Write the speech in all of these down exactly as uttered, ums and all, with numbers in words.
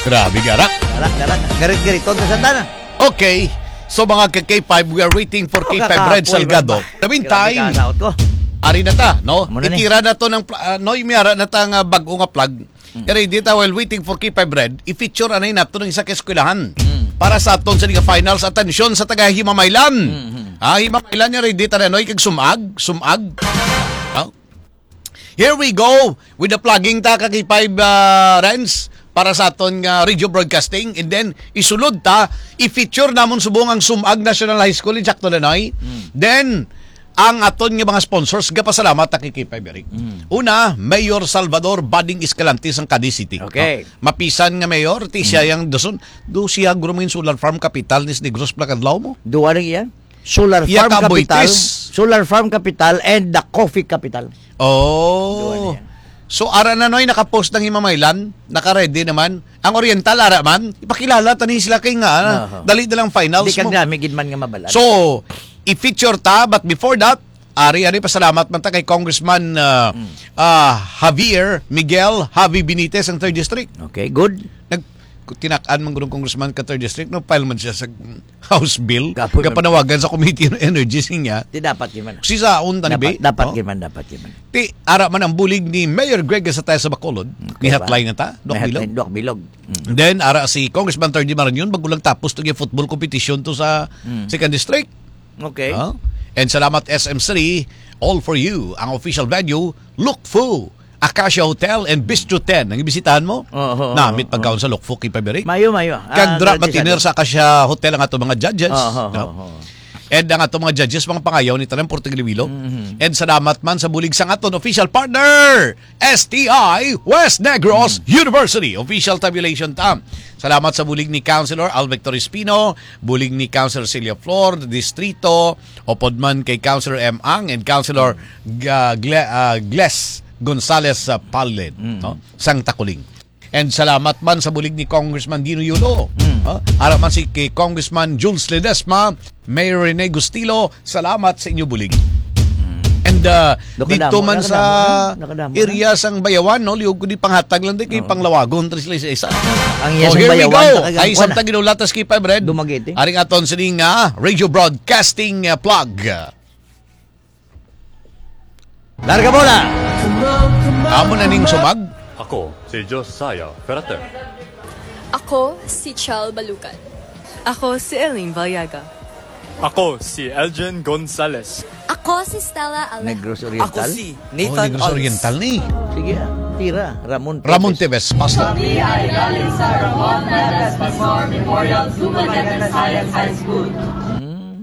Grabe, gara. Gara, gara. Garit-gariton sa Santa na. Okay. So, mga ka K five, we are waiting for K five Red Salgado. In the meantime, ari na ta, no? Itira na to ng pla-, ah, no, may ara na ta nga bag-o nga flag. Kaya dito, while waiting for K five Red, i-feature anay nato ng isa ka eskwelahan para sa aton sa Liga Finals. Atensyon sa taga Himamaylan. Ah, Himamaylan niya, ready ta na, no? Ikag sumag, sumag. Ah? Here we go with the plugging ta, ka K five, ah, Renz, para sa aton nga radio broadcasting. And then, isulod ta, i-feature namon subong ang Sumag National High School in Jackson, Illinois. Then, ang aton nga mga sponsors, gapasalamat ta kay K five Eric. Una, Mayor Salvador Bading Escalante sang Cadiz City. Okay. No? Mapisan nga mayor, ti siya yang dason. Do siya guro mangin solar farm capital ni Negros Placadlaw mo? Duwa lang iya. Solar Iya farm ka, capital, Boitis. Solar farm capital, and the coffee capital. Oh. Duwa na yan. So, ara na, Noy, nakapost ng Himamaylan, naka-ready naman. Ang Oriental, ara man, ipakilala tani sila kay nga, ah, Aha. dali na lang finals Di ka mo. Dami gid man nga mabalan. So, i-feature ta, but before that, ari, ari, pasalamat man ta kay Congressman, ah, ah, Javier Miguel Javi Benitez, ang third district. Okay, good. Nag-, tinak-an man gurong congressman ka third district, no, file man siya sa House bill, Kapoy nga man. Panawagan sa Committee on Energy, siya. Di dapat yun man. Si Saon, tani, Dapat, be? dapat Oh. yun man, dapat yun man. Ti, ara man ang bulig ni Mayor Greg sa tayo sa Bacolod. Okay Ni ba? Hatlay na ta, Duwak May Bilog. hatlay, Duwak Bilog. Mm. Then, ara si Congressman Terdy Marañon, bago lang tapos to yung football competition to sa Mm. second district. Okay. Ah? And salamat S M three, all for you. Ang official venue, Lukfo, Acacia Hotel and Bistro ten. Ang ibisitahan mo? Oo, oo, Namit oo. pagkaon sa Lukfo, K five Eric. Mayo, mayo. Ah, Kandra grabe Matiner sa sa Acacia Hotel ang ato mga judges. Oo, oo, No? oo. And ang ato mga judges, mga pangayaw ni Tanan Portuguililo. Mhm. And salamat man sa bulig sa aton official partner, S T I West Negros Mhm. University. Official tabulation ta. Salamat sa bulig ni Councilor Al Victor Espino, bulig ni Councilor Celia Flor, Distrito, upod man kay Councilor M Ang and Councilor Ga-, Gle-, ah, Gles Gonzales, ah, Palid, Mm. no? Sang Takuling. And salamat man sa bulig ni Congressman Dino Yulo. Mm. Ah, ara man si kay Congressman Jules Ledesma, Mayor Rene Gustilo, salamat sa inyo bulig. Mm. And, ah, Nakadamo, dito man sa nakadamo, nakadamo na. area sang Bayawan, no, liog ko di panghatag lang di kay Oo. panglawagon, tres sila isa-isa. Ang So, iya sang here we Bayawan, go. talagang Ay, kuwan isang na. tagilulatas kay Five Red. Dumaguete. Aring aton sini nga radio broadcasting, ah, plug. Larga bola! Amo na ning sumag. Ako si Josiah Ferreter. Ako si Chel Balucan. Ako si Eileen Valyaga. Ako si Elgin Gonzalez. Ako si Stella Alejandro. Negros Oriental? Ako si Oh, Nathan Negros Ons. Oriental ni. Sige, ah, tira. Ramon Ramon Tevez. Tevez, Pastor. Kami ay galing sa Ramon Tevez Pastor Memorial Dumaguete Science High School.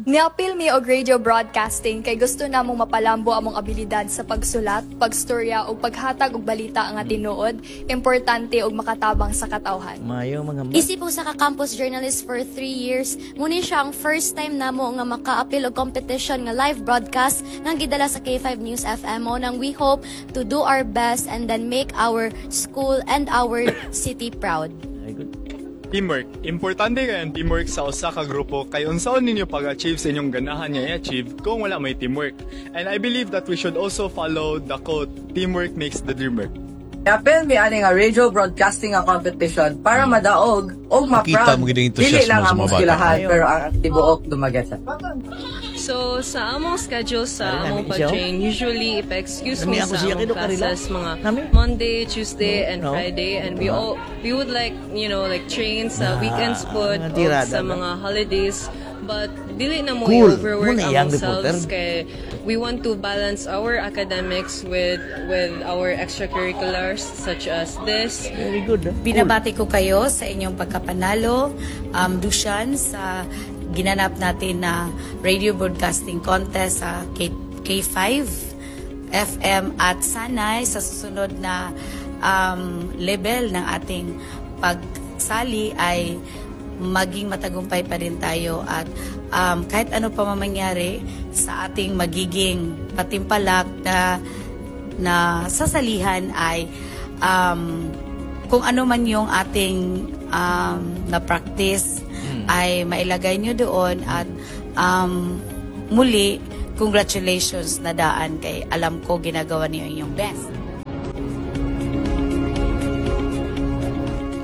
Niapil mi og radio broadcasting kay gusto namong mapalambo among abilidad sa pagsulat, pagstorya, ug paghatag og balita nga tinuod, importante, ug makatabang sa katawhan. Mayo, mga ma- Isip usa ka campus journalist for three years, muni siya ang first time namo nga makaapil og competition nga live broadcast nga gidala sa K five News F M. Mao nang we hope to do our best and then make our school and our city proud. Very good. Teamwork. Importante kay ang teamwork sa usa ka grupo kay unsaon ninyo pag-achieve sa inyong ganahan nga i-achieve kung wala may teamwork? And I believe that we should also follow the quote, "Teamwork makes the dream work." Apil mi ani nga radio broadcasting nga competition para madaog o Makita ma-proud mo gid ang dili entusiasmo lang sa among mga bata. eskwelahan, pero ang tibuok Dumaguete. So, sa among schedule, sa Ano among namin siya? pag-train, usually, ipa-excuse Nami mi ako sa siya, among kido, karila. classes, mga Nami? Monday, Tuesday, No, and no. Friday, and we No. all, we would like, you know, like, train sa Ah, weekends po, ang o tirada sa na. mga holidays, but dili na mo Cool. i-overwork Muna ang iyang ourselves reporter. kay we want to balance our academics with, with our extracurriculars such as this. Very good, ah. Cool. Binabati ko kayo sa inyong pagkapanalo, um, Dushan, sa ginanap natin na radio broadcasting contest sa K-, K five F M at sana'y sa susunod na, um, level ng ating pagsali ay maging matagumpay pa rin tayo at, um, kahit ano pa man mangyari sa ating magiging patimpalak na, na sasalihan ay, um, kung ano man yung ating, um, na-practice Hmm. ay mailagay nyo doon at, um, muli, congratulations na daan kay alam ko ginagawa niyo yung best.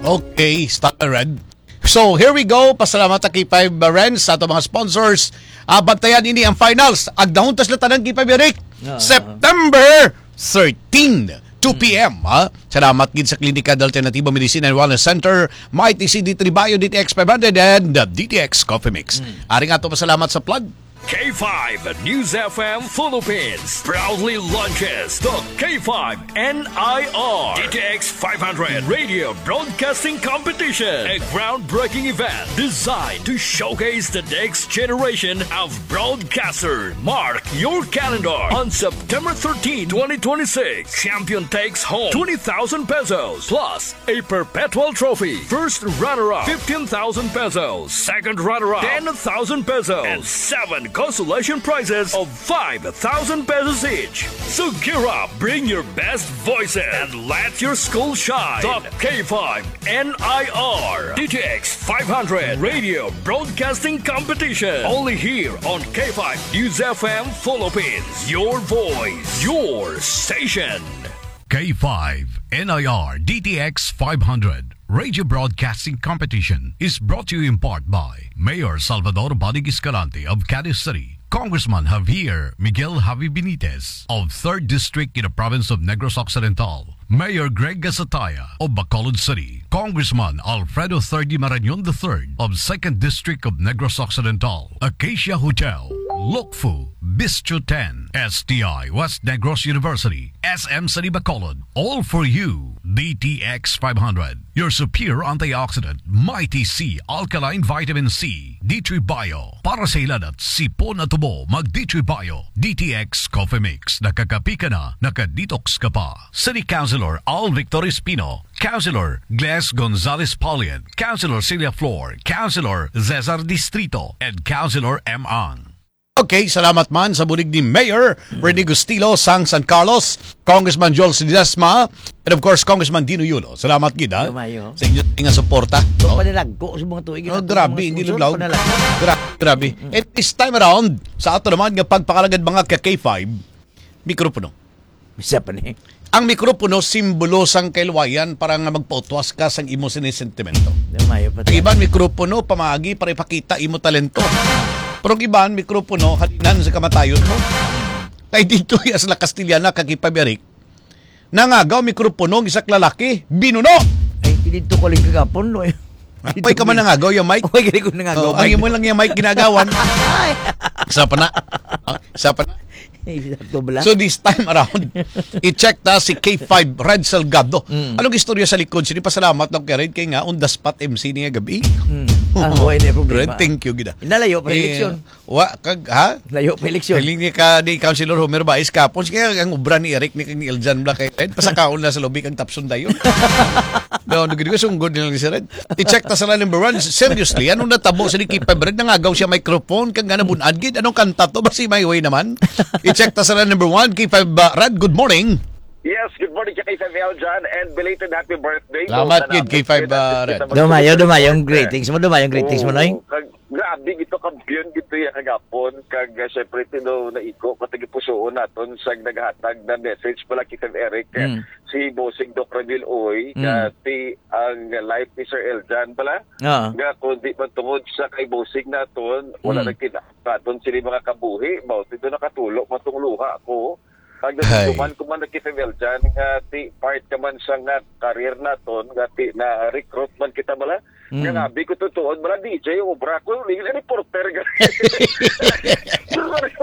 Okay, Star Red. So, here we go. Pasalamat ta K five Ren sa ato mga sponsors. Ah, bantayan ini ang finals. Agdahon ta sila tanan, K five Eric. Ah. September thirteen, two p m, ha? Salamat gid sa Klinika de Alternatibo Medicine and Wellness Center, Mighty C D three Bio, D T X five hundred, and, uh, D T X Coffee Mix. Ari nga ato pasalamat sa plug. K five News F M Philippines proudly launches the K five N I R D T X five hundred Radio Broadcasting Competition, a groundbreaking event designed to showcase the next generation of broadcaster. Mark your calendar on September thirteenth, twenty twenty-six. Champion takes home twenty thousand pesos plus a perpetual trophy. First runner-up, fifteen thousand pesos. Second runner-up, ten thousand pesos. And seven consolation prizes of five thousand pesos each. So gear up, bring your best voices, and let your school shine. The K five N I R D T X five hundred Radio Broadcasting Competition. Only here on K five News F M Philippines. Your voice, your station. K five N I R D T X five hundred Radio Broadcasting Competition is brought to you in part by Mayor Salvador Bodig Escalante of Cadiz City, Congressman Javier Miguel Javi Benitez of third District in the province of Negros Occidental, Mayor Greg Gasataya of Bacolod City, Congressman Alfredo Thirdy Marañon the third of second District of Negros Occidental, Acacia Hotel, Lukfu, Bistro ten, S T I West Negros University, S M City Bacolod, all for you. D T X five hundred, your superior antioxidant, Mighty C alkaline vitamin C, D three Bio, para sa hilanat, sipon at tubo, mag D three Bio, D T X Coffee Mix, nakakapi ka na, naka-detox ka pa. City Councilor Al Victor Espino, Councilor Gles Gonzalez Paulian, Councilor Celia Flor, Councilor Cesar Distrito, and Councilor M Ang. Okay, salamat man sa bulig ni Mayor Rene Gustilo sang San Carlos, Congressman Joel Ledesma, and of course, Congressman Dino Yulo. Salamat gid, ha? Lumayo. Sa inyo nga suporta. So, panalagko sa mga tuig. Oh, grabe, hindi lang loud. Grabe, grabe. And this time around, sa ato naman nga pagpakalagad mga ka K five, mikropono. Bisa pa ni. Ang mikropono, simbolo sang kaluwayan para nga magpautwas ka sang imo sini sentimento. Lumayo pa. Ang iban, mikropono, pamaagi para ipakita imo talento. Pero ang iban, mikropono, halinan sa kamatayon mo. Kay dito, as la Castellana, kakipabirik, nangagaw mikropono ang isa ka lalaki, binuno! Ay, dito ko lang kagapon, no? Ay, ka man nangagaw yung mic? Ay, gali ko nangagaw, Oh, ang mic. Imo lang yung mic ginagawan. Ay. Isa pa na. Ah, isa pa na. Exacto, bala. So this time around, i-check ta si K five Red Salgado. Mm. Anong istorya sa likod? Sige, pasalamat lang kay Red kay nga on the spot M C niya gabi. Mm. Ah, wala na problema. Red, thank you gid, ah. Nalayo pa Eh, eleksyon. Wa kag, ha? Layo pa eleksyon. Hiling ni ka ni Councilor Homer Bais kapon, kaya ang obra ni Eric ni kang ni Eljan Black kay Red, pasakaon na sa lobby kang Tapson dayon. No, nagdi ko sunggod nila ni si Red. I-check ta sa number one. Seriously, anong natabo sa ni K five Red? Nangagaw siya microphone, kang gana bunad gid. Anong kanta to? Basi my way naman. I-check ta sa number one, K five, uh, Red, good morning. Yes, good morning, K five Eljan, and belated happy birthday. Salamat Sa gid, K five, uh, Red. Dumayo, dumayo ang greetings mo, dumayo ang greetings mo, Noy. Oo, kag-, grabe gito, kampiyon gito ya kagapon, kag, uh, syempre, tino naigo, katagipusoon naton sa naghatag na message pala, K five Eric, eh, Mm. si Bossing Doc Ramil Uy, Mm. nga ti ang life ni Sir Eljan pala, Oo. nga kung di man tungod sa kay Bossing naton, wala Mm. na kina-, naton sila mga kabuhi, mao, tito nakatulo, matungluha ko. Pag Hay. natutuman ko man na K five Eljan, nga ti part ka man sa nga career naton, nga ti na-recruit man kita bala, Mm. nga nabi ko tutuon, bala D J, obra ko, reporter ka.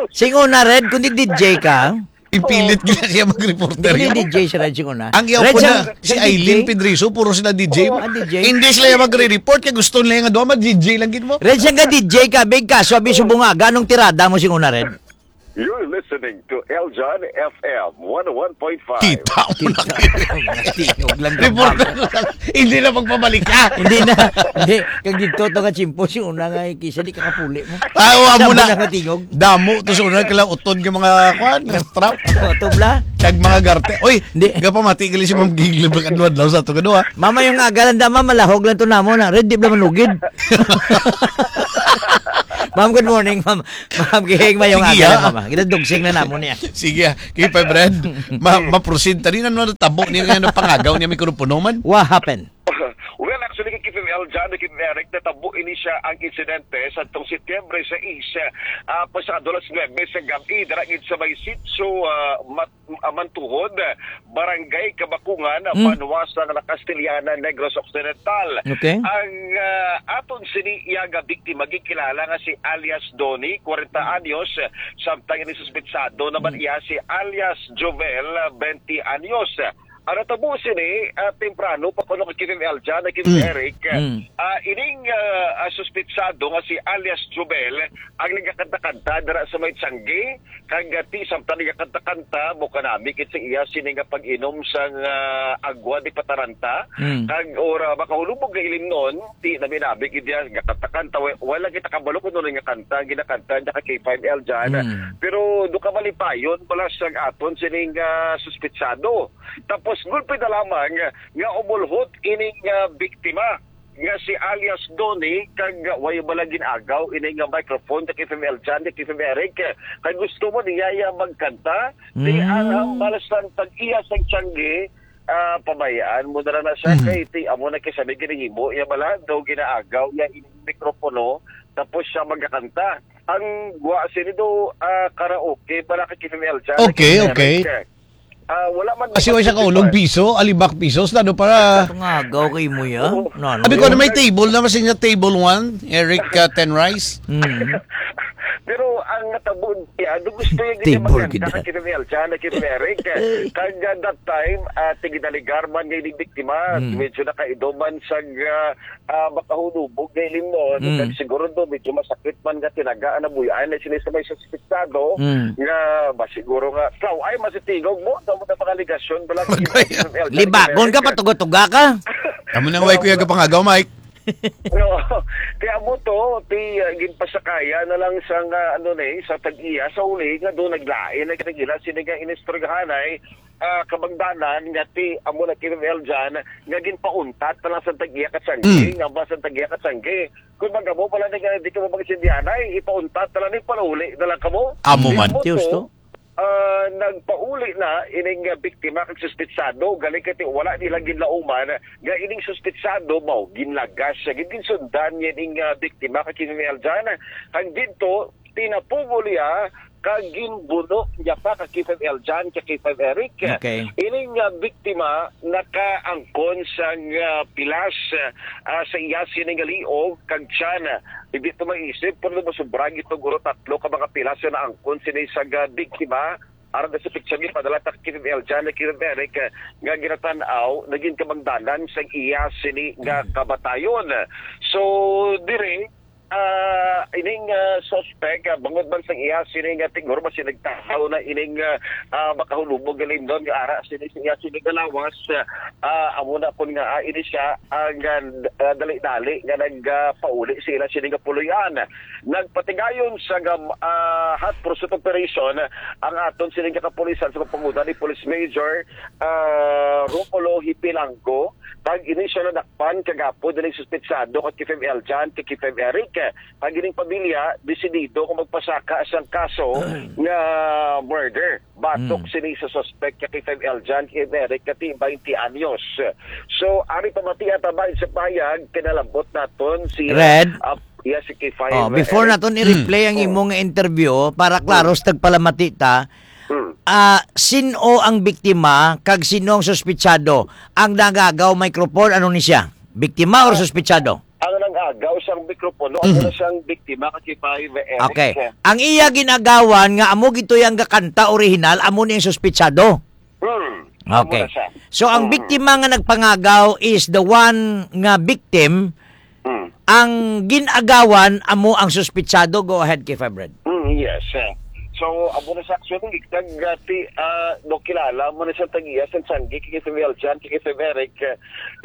Sing una, Red, kung di D J ka? Ipilit gina siya mag-reporter. Hindi D J si Red, sing una. Ang yaw Red, po na, siyang, si siyang Aileen D J. Pedrizo, puro sila D J. Oo, ah, D J. Hindi sila yung magre-report, kaya gusto nila nga doon, mag-D J lang gid mo. Red, siyang ka D J ka, big kaso, abi, subong nga, ganong tirada mo, sing una, Red? You're listening to Eljan F M one oh one point five. Kita mo na. Kita mo na. Tingog lang ka Reporter ba? Ko lang. Hindi na magpabalik ka. Hindi na. Hindi. Kag dito to ka chimpo, si una nga, eh, kisa di ka kapuli mo. Ah, wa mo Damo na. Na katingog. Damo to sa una, kailang utod ka mga, kwan, nga strap. Mga tubla. Kag mga garte. Uy, Hindi. Gapamati gali si Ma'am Gigli, Black and Wadlaw sa ato, kadwa. Mama, yung agalan dama, malahog lang to namo na. Red, di ba manugid? Ma'am, good morning, ma'am. Ma'am, gihing mayong Sige, aga, ah. Mama. Ginadugsing na namo niya. Sige, ah. Kay Five Red, ma-, ma-proceed. Tali na naman ang tabo niya nga napangagaw niya mikropono man. What happened? Well, Kini kay K F M L John, kay Eric, natabo ini siya ang insidente sa tong Setyembre sais, ah, pasado alas nuebe sa gabi, dira gid sa may sitio, ah, Mat-, ah, Mantuhod, Barangay Kabakungan, Hmm. banwa sa La Castellana, Negros Occidental. Okay. Ang, ah, aton sini iya nga biktima gikilala nga si alias Donnie, kwarenta anyos, samtang ini suspetsado naman Hmm. iya si alias Jovel, bente anyos. Ang natabo sini, ah, temprano pa kuno kay K F M L John, kay K F M Mm. Eric. Mm. Ah, ining, ah, ah, suspitsado nga si alias Jovel ang nagakanta-kanta dira sa may Tiangge, kag, ah, ti samtang nagakanta-kanta, mo kanami kit sa iya sini nga pag-inom sang, ah, agwa di pataranta, Mm. kag ora makahulubog nga ilimnon, ti nami-nami gid iya nagakanta-kanta, wa-, wala kita kabalo kung ano nga kanta ang ginakanta niya kay K five L John. Mm. Pero do ka malipayon pala sang aton sining, ah, suspitsado. Tapos gulpi na lamang nga umulhot ining, ah, biktima nga si alias Donnie, kag, ah, way bala gin-agaw ini nga microphone sa K F M L John, sa K F M Eric, kag gusto mo niya iya magkanta, di Mm. ang hambal sang tag-iya sang Tiangge, ah, pabayaan mo na lang na siya, Mm. kay ti amo na kay sabi ginahimo iya bala, daw ginaagaw iya ining mikropono, tapos siya magakanta. Ang gwa sini do, ah, karaoke, para kay K F M L John, Okay, K F M Eric. okay. Ah, wala man Kasi way sa kaulog, piso, alibak piso, sa ano para Katungagaw kay mo ya? Oo. No, no. Sabi ko na may table na, mas niya table one, Eric, uh, Ten Rice. Mm. Pero ang natabo niya, ano gusto niya Table gid. Kay Mel Chan, kay Eric. Kag, uh, that time, uh, tigidaligar man nga ining biktima, Mm. medyo nakaidoman sa, uh, ah, makahulubog nga ilimnon, Mm. kag siguro do, medyo masakit man nga tinaga ang nabuyan na sini sa may suspetsado, Mm. nga ba siguro nga, ikaw, ay, masitingog mo, sa mga mga alegasyon, bala, Magay. Libagon ka, patuga-tuga ka. Amo nang way, kuya, gapangagaw, Mike. No, kaya mo to, ti, ah, ginpasakaya na lang sa nga, ano na eh, sa tag-iya, sa uli nga doon naglain, nagkagila, sini nga inistorgahan ay, ah, kabangdanan nga ti amo na kinumel dyan, nga ginpauntat na lang sa tag-iya ka sangki, Mm. nga ba sa tag-iya ka sangki. Kung magamo pala na nga, di ka mo mag-intindihan, ay, ipauntat na lang, ni pauli na lang kamo. Amo Di man. mo Diyos to, to. Ah, nagpauli na ining, ah, biktima kag suspitsado, galing kay wala nila ginlauman nga ining suspitsado mao ginlagas siya, ginsundan niya ining, ah, biktima kag kinumel dyan. Ang dito, tinapugo niya kag ginbuno niya pa ka K five L John, ka K five Eric. Okay. Ining, ah, biktima nakaangkon sang, ah, pilas, ah, sa iya sini nga liog kag tiyan. Hindi to maisip, pero masubra gito guro tatlo ka mga pilas nga naangkon sini sa, ah, biktima. Aron sa picture ni padala ta K five L John, K five Eric, ah, nga ginatan-aw, naging kabangdanan sang iya sini nga Hmm. kamatayon. So, diri, ah, ining, ah, suspect, ah, bangod man sang iya sini nga tingor, mas nagtahaw na ining, ah, ah, makahulubog nga lindon nga ara sini sa iya sini nga lawas, ah, amo na kun nga, ah, ini siya ang, ah, ah, dali-dali nga nag, ah, pauli sa ila sini nga puloy-an. Nagpatigayon sa gam-, ah, hot pursuit operation ang aton sini nga kapulisan sa pagpangunan ni Police Major, ah, Romulo Hipilanggo, kag ini siya nadakpan kagapo dili suspetsado kag K five L John, kag K five Eric. Ang ining pamilya, desidido kung magpasaka sang kaso nga murder. Batok Mm. sini sa suspect nga K five L John, kay Eric, kati twenty anyos. So, ari pamati at abay sa payag, kinalambot naton si, Red. ah, iya si K five, Oh, before Eric. naton i-replay ang Mm. imo nga interview, para klaro Mm. sa tagpalamati ta, Mm. ah, sino ang biktima kag sino ang suspitsado? Ang nangagaw microphone, ano ni siya? Biktima or Ah, suspitsado? Ang nangagaw sang mikropono, Mhm. ano siyang biktima, kay K five, Eric. Okay. Ang iya ginagawan nga amo gito yang gakanta orihinal, amo ni ang suspitsado. Hmm. Amo Okay. na siya. So, ang Hmm. biktima nga nagpangagaw is the one nga victim. Hmm. Ang gin-agawan amo ang suspitsado. Go ahead, K five Red. Hmm, yes, eh. So, amo na siya actually, nag, ah, ti-, ah, no, kilala mo na siya tag-iya sa Changi, kay K five L John, kay K five Eric, eh,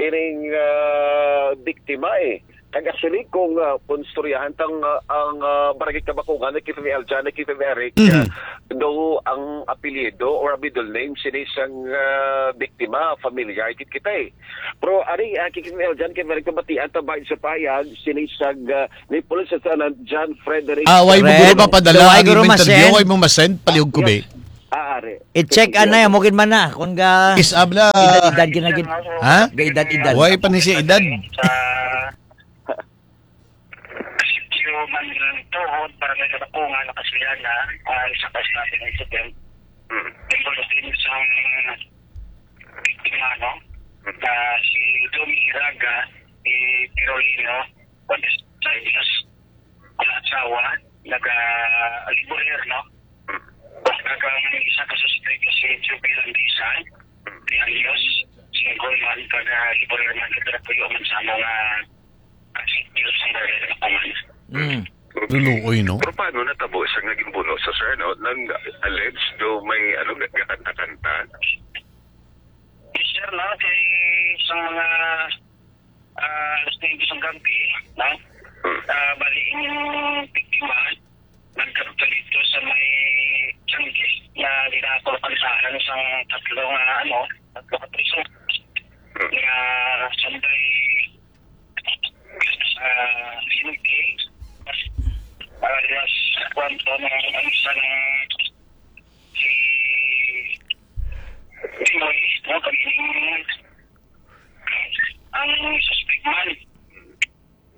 ining, ah, biktima, eh. Kag actually, kung, ah, kung istoryahan tang, ah, ang, ah, Barangay Kabakungan ni K five L John, ni K five Eric, Mhm. ah, do ang apelyido or middle name sini sang, ah, biktima, familiar gid kita, eh. Pero ari, ah, K five L John, kay Eric, mabatian ta ba sa payag sini sang, ah, ni Police Lieutenant John Frederick Ah, way mo Red. guro papadala Way ang guro imo interview, masend. way mo masend, palihog ko, be. Ah, ari. I-check Sige, anay, sige. Amo gid man na. Kung ga Is abla. Edad-edad gid na gid. Ha? Ga edad-edad. Way pa ni siya edad. Sa Tuhod, Barangay Kabakungan, Nakasuyana, ah, isa ka staff ng incident. Mm. Involved din isang biktima, no? Mm. Na si Domi Iraga, si Pirolino, forty-five years, ang asawa, naga-laborer, no? Kag ang isa ka suspek si Juby Landisa, di Alios, single man, taga-laborer man, taga-puyo man sa mga Diyos ang barangay na kuman. Mm. Luluoy, no? Pero paano natabo sa naging buno sa, sir, no? Nang alleged do may, ano, ga-, gakanta-kanta? Yes, sir, no? Kay sa mga, ah, alas nuwebe sang gabi, no? Hmm. Ah, bali, yung biktima, nagkadto dito sa may tiyangge na dinako, kansahan sang tatlo nga, ano, tatlo ka priso. Hmm. Nga sanday, ah, sinugti, ah, mas kwanto ng ang isa ng si Timoy, no, kag ang suspect man.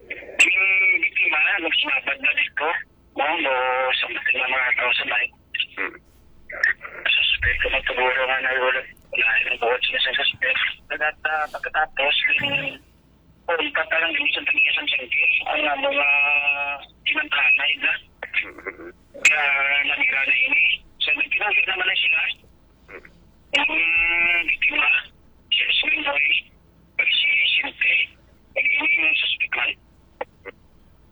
Ang biktima, nagsinabad na dito, no, no, sa mga, mga tao sa may. Hmm. Suspect, kung siguro nga na wala, wala ang buhat sila sa suspect. Nagata-, pagkatapos, yung Kung patalang din sa tagisan sa ang mga kinangkanay na, kaya nanira na ini. So, nagpinagit naman na sila. Ang biktima, si Swing Boy, pag si Sinte, pag ini yung suspect man.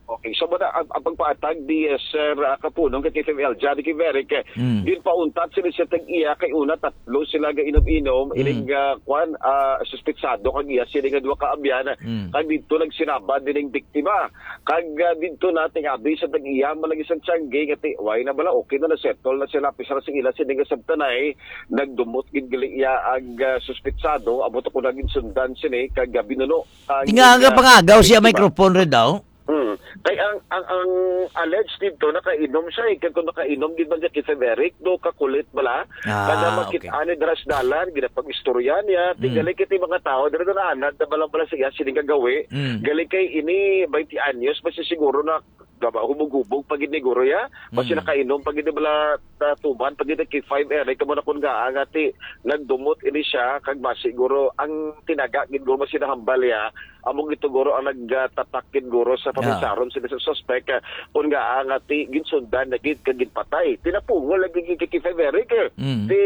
Okay, so muna, ang, ang pagpaatag di, eh, Sir, ah, Kapunong, kay K F M L, Johnny Kiveric, eh, Mm. ginpauntat sila sa tag-iya kay una tatlo sila ga inom-inom, Mm. ining, ah, kwan, ah, suspetsado kag iya sila nga duha ka abyan, Mm. kag didto nagsinabad dining biktima. Kag, ah, didto na, tingabi sa tag-iya man lagi sa tiyangge nga ti-, way na bala, okay na, na-settle na sila, pisar sa ila sini nga sabtanay, nagdumot gid gali iya ang, ah, suspetsado, amo to ko naging sundan sini, kag, ah, binuno ang, Tinga nga ah, pangagaw siya biktima. Microphone rin daw. Hmm. Kay ang, ang, ang alleged dito, nakainom siya, eh. Kag kung nakainom, di ba, Jackie Feverick, do kakulit bala? Ah, kada makit okay. Ani dras dalan, ginapag-istorya niya, Mm. tingali kiti mga tao, dira na anad, na balang-bala siya, sining kagawi. Mm. Gali kay ini, twenty anyos, basta siguro na, gaba, hubog-hubog, pag iniguro ya, basta Mm. nakainom, pag ini bala, tatuman, pag ini kay five Eric, kamo na kung nga, nga ti, nagdumot ini siya, kag mas siguro, ang tinaga, gid guro, mas sinahambal ya, Amo gid to, guro, ang nagtatak gid, guro, sa Ah. paminsaron sila sa suspek, ah, kun nga, ah, nga ti-, ginsundan na gid kag ginpatay. Tinapungol lagi gid kay Feverick, eh. Mm. Ti,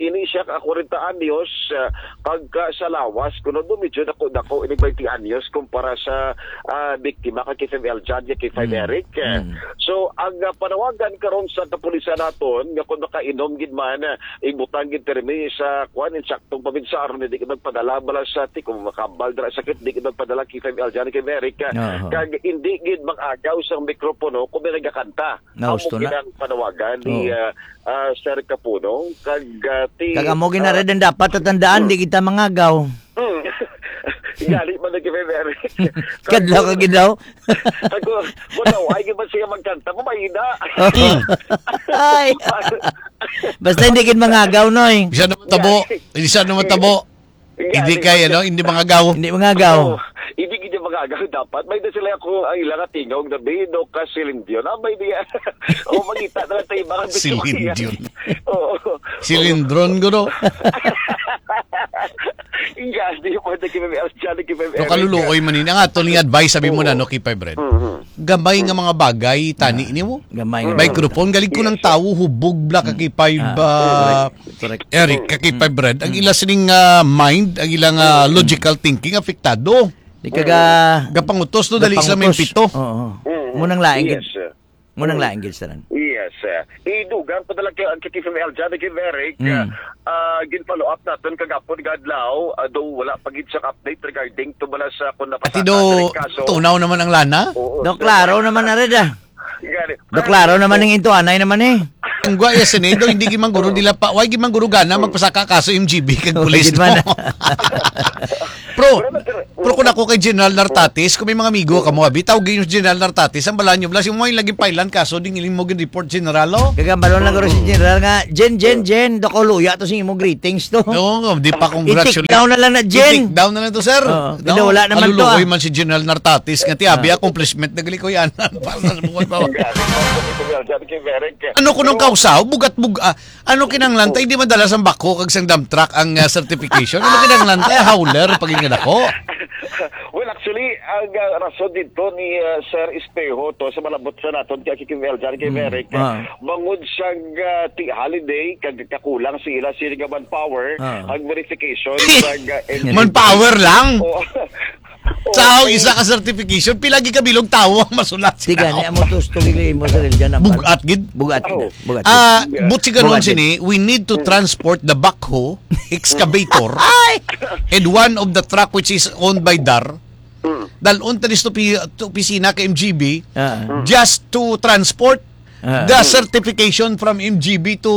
ini siya ka kwarenta anyos, ah, kag ka sa lawas, kuno do medyo dako-dako ini twenty anyos kumpara sa, ah, biktima kay Feverick, John, kay Mm. Feverick, eh. Mm. So, ang, ah, panawagan karon sa kapulisan naton, nga kung makainom gid man, ah, ibutang gid pirmi sa, kuwan, insaktong paminsar, hindi ka magpadala bala sa ti-, kung makambal dira sakit, di ka magpadala kay Fem Eljan, kay Merrick, ah, Aha. kag hindi gid mag-agaw sa mikropono kung may nagakanta. Amo Nausto na. Kinang panawagan ni, Oo. ah, ah, Sir Kapunong, kag, ah, ti-, Kag amo gina ah, rin ang dapat tatandaan, hmm. di kita mangagaw. Hmm. Gali man na kay Merrick. Kadlaw ka gid daw. Ako, wala, ay, di ba siya magkanta? Mamayda. Ay. Basta hindi gid mangagaw, Noy. Isa naman tabo. Isa naman tabo. Hindi kay, ano, hindi mangagaw. Hindi mangagaw. Oo. Hindi gid mangagaw dapat. May da sila ako ang ilang atingaw na Bino ka Silindyon. Ah, may diya. O, magita na lang tayo, mga Silindyon. Oo. Silindron, guro. Yes, di po, thank you, Ma'am Elsa, thank you, Ma'am No, Erica. Kaluluoy man ini. Ang ato ni advice, sabi mo Oo. na, no, Kipay Bread. Mhm. Gamay nga mga bagay, tani Ah, nimo. gamay nga Microphone, galing ko Yes, ng sir. tao, hubog, bla, Mm. kakipay, Ah, ba, correct, correct. Eric, Mm. kakipay, Bread. Ang Mm. ila sining, ah, mind, ang ilang, ah, Mm. logical thinking, apektado. Di ka ga-, Gapangutos, no, dali sila may gapangutos. pito. Oo. Mm. Munang laing Yes, gid. sir. Munang Mm. laing gid, sir. Yes, sir. Idugang pa talaga ang K T F M L, Johnny Kiveric, Mm. ah, gin-follow up naton kagapon nga adlaw, ah, though wala pa gid siyang update regarding to bala sa kung Ati napasaka do, sa kaso. tunaw naman ang lana? Oo, Do, sir. klaro naman na rin, ah. Gani. Do, klaro naman ang intuanay naman, eh. Ang gwa, yes, sinido, hindi gid man guro, Oo. dila pa, why gid man guro gana, Oo. magpasaka kaso M G B kag Oo, pulis gid man. mo? Pero, pero kung ako kay General Nartatis, kung may mga amigo ka mo, abi, tawagin yung General Nartatis, ang balaan nyo, blas yung mo yung laging pailan kaso, ding iling mo gin-report, General, oh. Kagambalon lang guro si General nga, "Jen, Jen, Jen, dako luya to sa imong greetings to." Oo, nga, di pa congratulate. I-take down na lang na, Jen. I-take down na lang to, sir. Oo, No, wala naman to, kaluluoy ah. man si General Nartatis nga, ti, abi, Ah. accomplishment na gali ko yan. Para sa buwan ba? Grabe, Kuya Jan, kay Merek. Ano ko nung Pero kausaw? Bugat-bug-, ah, ano kinanglan? Tay, di madala sang backhoe kag sang dump truck ang, ah, certification? Ano kinanglan? Tay, howler, pag ingadako. Well, actually, ang, ah, rason dito ni, ah, Sir Espejo to sa malabot sa naton kay Kim Eljan, kay Mm, Merek, ah. bangod siya, ah, ti holiday, kag kakulang sila sila nga manpower, Ah. ang verification sa, ah, Manpower lang? Oo. Sa Oo, isa ka certification, pila gid ka bilog tawo ang masulat sa Tiga, tao? ni amo to, story mo sa religion, ang Bugat gid. Bugat gid. Oh. Bugat gid. Ah, Yeah. but si ganun Bugat gid. sini, we need to Mm. transport the backhoe, excavator, Ay! and one of the truck which is owned by Dar. Mm. Dalon ta dis to pi-, to opisina ka M G B Ah. Mm. just to transport Ah. the certification from M G B to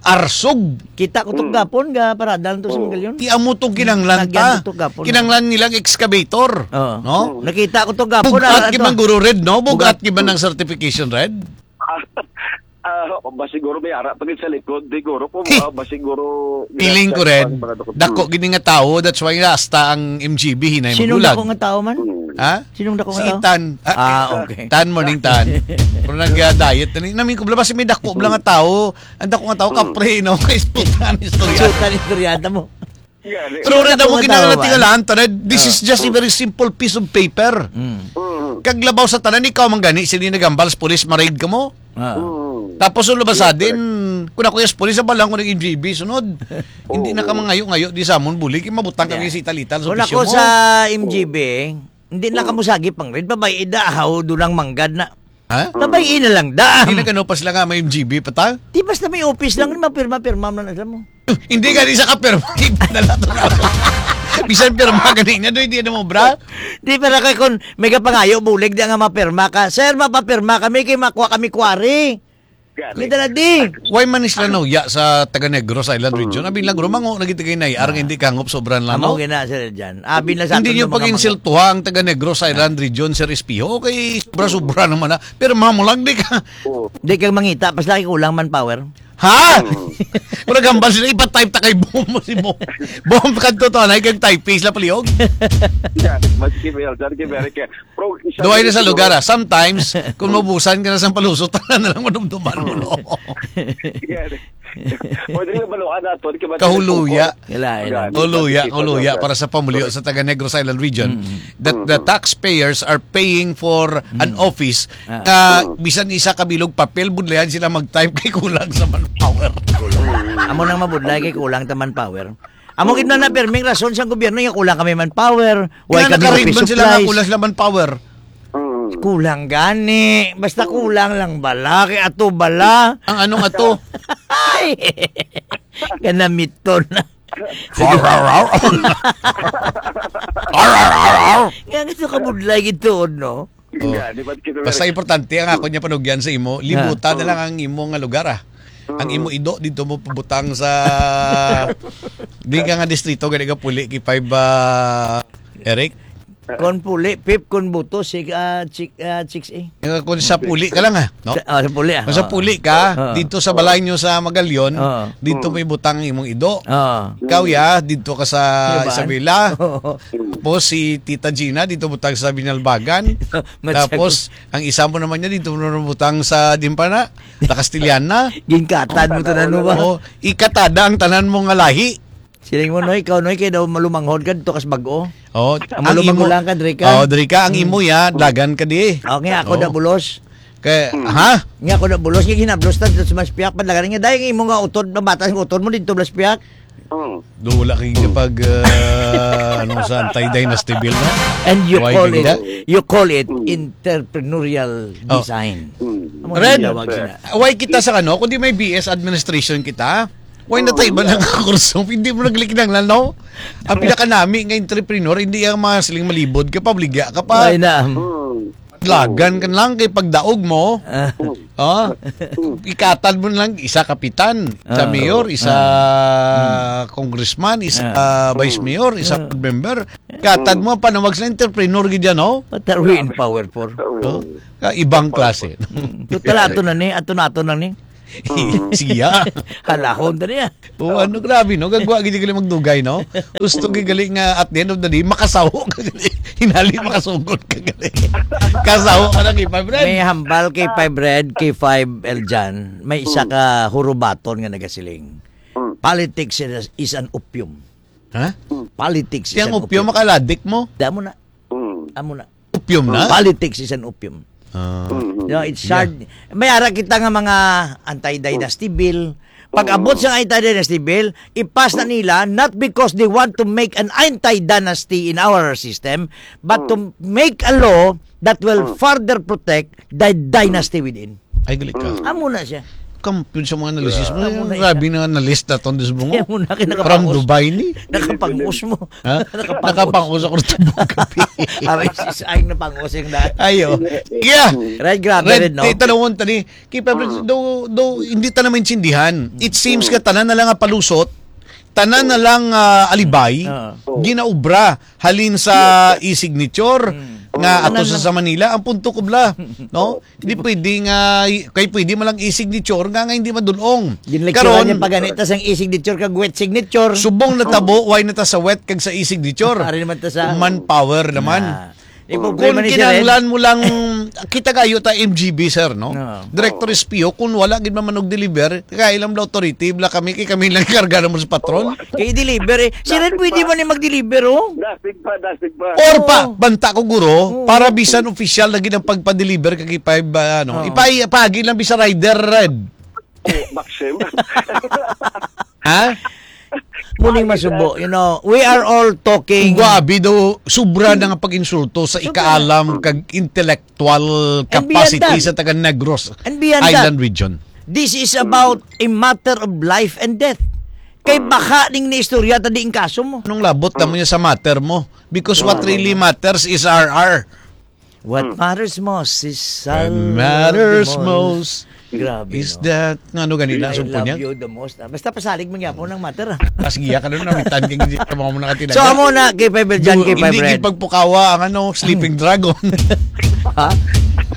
Arsog. Kita ko to Mm. gapon, ga parada lang to sa Mm. Magallanes. Ti amo tong kinanglan Nagyan ta. ko to gapon. Kinanglan nilang excavator, Oo. no? Mm. Nakita ko to gapon, Bugat ah, gid to. man, Guro Red, no? Bugat Bugat. gid man ang certification, Red? Ah, ah, ba siguro may ara pa gid sa likod, di guro po, Hey. ah, ba siguro Feeling ko, ginasa Red, pa, para dako. dako Mm. gid nga tawo, that's why hasta ang M G B hinay Sinong magulag. dako nga tawo man? Mm. Ha? Sinong dako Si nga tawo? Tan. Ah, Ah, okay. Tan, morning, Tan. Pero nag-diet na ni. Namin ko, labas may dako bala nga tawo. Ang dako nga tawo, Mm. kapre, no? Kay Tan, istorya. Sutan, istoryada mo. Gani. Pero Sinong rin dako mo nga tawo kinahanglan ba? tingalaan, Tan, eh, this is Ah. just a very simple piece of paper. Mm. Mm. Kag labaw sa tanan, ikaw man gani, sini nagambal sa pulis, ma-raid ka mo. Ah. Mm. Tapos, ang labas sa Yeah, din, correct. kung ako yung pulis, sa balang ko ng M G B, sunod. Hindi na ka Oo. mangayo-ngayo, di sa amon, buli, kay mabutang kami Yeah. sa ital-ital sa Kung opisyo ako mo. sa M G B, Hindi na kamo sagip ang red. Babay, ida, how, doon ang manggad na. Ha? Babay, ina lang da. Hindi na kano pa sila nga may M G B pa ta? Di basta may office lang, mapirma-pirma man lang sila mo. Hindi ka di sa kapirma. Ipadala to na. Bisan pirma ka niya, doy, di na mo, bra? Di, pero kay kung may kapangayo, bulig di nga mapirma ka. "Sir, mapapirma kami kay makuha kami quarry." Gani. Kita na di. Why man sila nauya sa taga Negros Island Region? Mm. Abi lang, guro, mango na kita kay nai-, arang Ah. hindi kahangop sobran lang, Amo no? gina, Sir Jan. Abi na sa Hindi aton nyo nga mga pag-insultuha ang taga Negros Island Region, Sir Espiho. Okay, sobra-sobra naman na. Pero mamo lang, di ka. Oo. Di ka mangita, pas lagi kulang manpower. Ha? Mm. Murag hambal sila, ipa-type ta kay Bom mo si Bom. Bom, kanto to, anay kag typist la paliog. Yeah, mas kimil, dyan kay Merek, eh. Pero isa Duway na na sa siguro lugar, ah. Sometimes, kung maubusan ka na sa palusot, tanan na lang manumduman mo, no? Yeah. Pwede na maluan nato, di ka ba Kahuluya. tinatungkol? Kailangan. Gani, Huluya, pati huluya kita, para sa pamulyo Correct. sa taga Negros Island Region, Mm. that the Mm. taxpayers are paying for an Mm. office Ah. na Mm. bisan isa ka bilog papel, budlayan sila mag-type kay kulang sa manpower. Mm. Amo nang mabudlay kay kulang ta manpower. Amo gid na na perming rason sang gobyerno nga kulang kami manpower, why Kaya kami nakarimban office sila nga supplies. kulang sila manpower. Mm. Kulang gani, basta Mm. kulang lang bala, kay ato bala. Ang anong ato? Ay! Kanamiton. Har, har, har. Har, har, har, har. Nga gusto ka budlay gid tuod, no? Oh. Yeah, di ba, kita Basta na importante ang ako niya panugyan sa imo, libutan Ah. na lang ang imo nga lugar, ah. Ang Mm. imo ido dito mo pabutang sa di ka nga distrito, gani ka puli kay five, ah, Eric? Kon puli, Pip, kon buto, si, ah, Chik-, ah, Chicks, eh. Nga kung sa puli ka lang, ah, no? Sa, ah, sa puli, ah. Kung sa Oo. puli ka, Oo. dito sa balay nyo sa Magalion, Oo. dito Mm. may butang imong ido. Oo. Ikaw, ya, dito ka sa Diba? Isabela. Oo. Tapos si Tita Gina, dito butang sa Binalbagan. Matsag- Tapos, ang isa mo naman niya, dito mo naman butang sa Dimpana, sa Castellana. Ginkatan mo tanan mo ba? Oo, ikatada ang tanan mo nga lahi. Siling mo, Noy, ikaw, Noy, kay daw malumanghod ka dito kas bag-o. Oh, Ang ang malumanghod imo lang ka, diri ka. Oh, diri ka, ang Hmm. imo ya, Hmm. dagan ka di. Oh, nga ako Oh. da bulos. Kay, Hmm. ha? Nga ako da bulos, nga ginablos ta dito sa Maspiak, padlagan nga, dahil ang imo nga utod, mabata ang utod mo dito, Maspiak. Hmm. Do, wala kay Hmm. pag, ah, ano sa anti-dynasty bill, no? And you Why call it, ganyan? you call it Hmm. entrepreneurial Oh. design. Hmm. Amo Red, ang tawag sila. why kita sa ano, kundi may B S administration kita? Why na tayo ba lang kurso? Hindi mo naglikinang lang, no? Ang pinakanami nga entrepreneur, hindi ang mga siling malibod ka pa, baligya ka pa. Ay na. Hmm. Lagan ka lang kay pagdaog mo. Ah. Hmm. Oh, ikatad mo lang, isa kapitan, sa Ah. mayor, isa Ah. congressman, isa Ah. vice mayor, isa Ah. board member. Ikatad mo, panawag sa entrepreneur gid yan, oh. What are we in power for? Oh, ka-, ibang klase. Mm. Pero tala, ato na ni, ato na, ato na ni. Siya. Halahon na niya. Oh, ano, grabe, no? Gagwa gid gali magdugay, no? Gusto gid gali nga at the end of the day, makasaho ka gali. Hinali, makasugod ka gali. Kasaho ka na kay Five Red. May hambal kay Five Red, kay Five Eljan. May isa ka hurubaton nga nagasiling. Mm. Politics is, is an opium. Ha? Politics is Siyang an opium, opium. Makaladik mo? Damo na. Mm. Amo na. Opium na? Politics is an opium. Ah. Mm. You know, it's Yeah. hard. May ara kita nga mga anti-dynasty bill. Pag abot sa anti-dynasty bill, ipas na nila, not because they want to make an anti-dynasty in our system, but to make a law that will further protect the dynasty within. Ay, gali ka. Mm. Amo na siya. Kampiyon sa mga analysis mo. Amo na Grabe siya. Na analyst na tong Disbungo. Kaya mo na kayo From nakapangos. Dubai ni. Nakapangos mo. Ha? Nakapangos. Nakapangos ako rito kape. Abay, si Saing na pangos yung dahil. Ayo. Yeah. Right, grabe Red, rin, no? Ti-, tanawon tani. Kay Pablo, Mm. do, do, hindi ta na maintindihan. It seems Mm. ka tanan na lang nga palusot, tanan na lang, ah, alibay, Oo. ginaubra halin sa e-signature Mm. nga ato Tanan sa, lang. Sa Manila. Ang punto ko bla, no? Hindi pwede nga, kay pwede man lang e-signature nga, nga hindi madulong. Ginlekturan Karon, niya pa ganita sang e-signature kag wet signature. Subong natabo, why na ta sa wet kag sa e-signature? Ari naman ta sa Manpower naman. Ah. Ipupray Kung man ni Sir Ed. Kinahanglan mo lang, kita kayo ta M G B, sir, no? Oo. Director S P O, kung wala gid man manog deliver, kaya lang bla authority, bla kami, kay kami lang karga naman sa patrol. Kay deliver eh. Si Red Dasig pwede pa. Man ni mag-deliver, oh. Dasig pa, dasig pa. Or pa, Oo. banta ko, guro, Oo. para bisan official na gid ang pagpa-deliver kag ipa-, ba, ano, Oo. ipa-, ipahagi lang bisa rider, Red. Oh, Maxim. Ha? Muning masubo, you know, we are all talking. Grabe daw, sobra na nga pag-insulto sa Sobra. ikaalam kag intellectual And beyond capacity that. sa taga Negros And beyond Island that, region. This is about a matter of life and death. Kay Mm. baka ning naistorya ta di ang kaso mo. Anong labot na mo Mm. niya sa matter mo? Because what Mm. really matters is R R. What Mm. matters most is What salud matters the most most. Grabe, is no? that, nga ano ganila, I sumpo love niya? you the most. Ah, basta pasalig mo niya po ng matter, ah. Tas giya ka nun, namitan ka, hindi ka mga muna katilaga. So, amo na, kay Five Red, Jan, Do, kay Five hindi Red. Gipagpukawa ang, ano, sleeping dragon. Ha?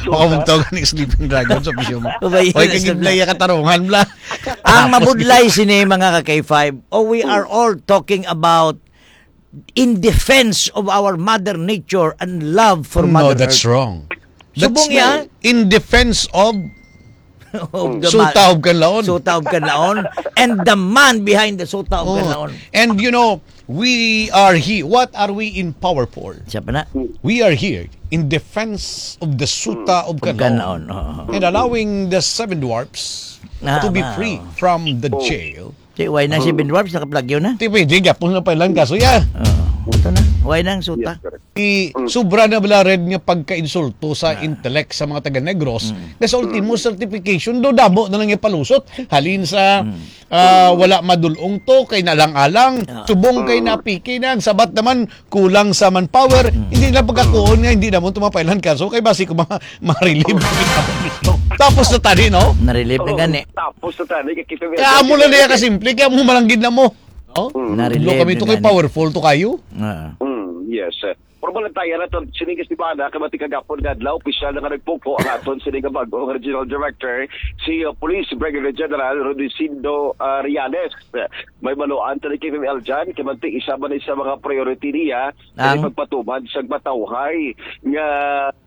Baka magtawag ni sleeping dragon sa bisyo mo. Babay, Oy, yun, kagid sa na iya katarungan, bla. Ang Tapos mabudlay sini, mga ka-K five, oh, we are all talking about in defense of our mother nature and love for No, Mother that's Earth. wrong. That's Subong yan. not in defense of Of the Suta ma-, of Kanlaon. Suta of Kanlaon. And the man behind the Suta of Oh, Kanlaon. And you know, we are here. What are we in power for? Siya pa na. We are here in defense of the Suta of Of Kanlaon. Kanlaon, oo. And allowing the seven dwarfs Ah, to be ma-, free oo. from the Oh. jail. Di, why nang si Ben Dwarfs nakaplagyo na? Di pwede, gapon na pa ilang kaso, ya. Oo. Ito na. Why nang suta? Yes, correct. I, Mm. sobra na bala red nga pagkainsulto sa Ah. intellect sa mga taga-Negros, Mm. na sa ultimo Mm. certification, do damo na lang yung palusot. Halin sa, Mm. ah, wala madulong to, kay nalang-alang, Ah. subong kay Mm. napiki na, ang sabat naman, kulang sa manpower, Mm. hindi na pagkakuon nga, hindi na mo tumapailan kaso, kay basi ko ma-, ma-relieve. Tapos na tani, no? Na-relieve na Oo, gani. Tapos na tani, kay kita Kaya mo na niya kasimple, kaya mo malanggid na mo. Oh? Mm. Na-relieve Lo kami na to kay gani. Powerful to kayo. Ah. Mm, yes. Formal na tayo na to, sining Esteban, ha, kay mati kagapon nga adlaw, opisyal na nga nagpungko ang aton sining nga bag-o nga regional director, si, uh, Police Brigadier General Rudecindo, uh, Reales. May baluan tani kay Ma'am Eljan, kay manti isa man ni sa mga priority niya, kay Ang? pagpatuman sa matawhay nga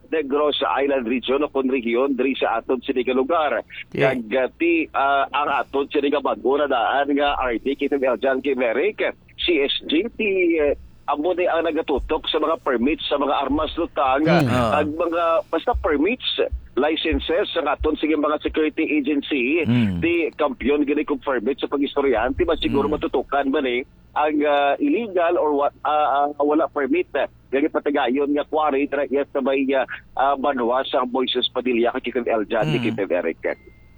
Negros Island region o kun rehiyon diri sa aton sini nga lugar. Yeah. Kag, uh, ti, uh, ang aton sini nga bag-o na daan nga R D kay Ma'am Eljan, kay Merrick, C S G, ti, uh, amo ni ang nagatutok sa mga permits sa mga armas, lutang, Mm. Ah. ag mga basta permits, licenses sa aton sige mga security agency, Mm. ti kampiyon gani kung permit sa pag-istoryahan, ti ba siguro Mm. matutukan ba ni ang, ah, illegal or wa-, ah, ah, wala permit, eh, gani patagayon nga quarry dira iya sa may, ah, ah, banwa sa Moises Padilla, kay Kitty Eljan, Mm. Kitty Eric.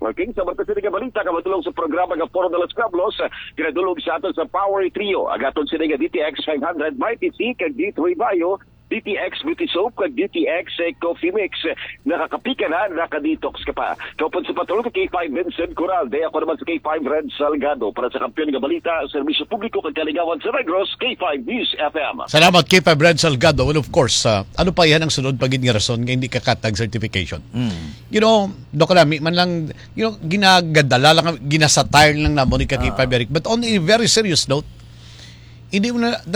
Okay, sa mga sini nga balita, kamatulong sa programa nga Foro de los Pueblos, ah, ginadulog sa aton sa Power Trio, ang aton sini nga D T X five hundred, Mighty C, kag D three Bayo, D T X Beauty Soap, kag D T X Coffee Mix. Nakakapi ka na, naka-detox ka pa. Kaupod sa patrol ka K five Vincent Coralde, ako naman sa K five Red Salgado. Para sa Kampiyon nga Balita, Serbisyo Publiko kag Kaligawan sa Negros, K five News F M. Salamat, K five Red Salgado. Well, of course, ah, ano pa yan ang sunod pa gid nga rason nga hindi ka katag certification? You know, Doc Lami, man lang, you know, ginagadala lang, ginasatire lang namo ni ka K five Eric. But on a very serious note, hindi mo na,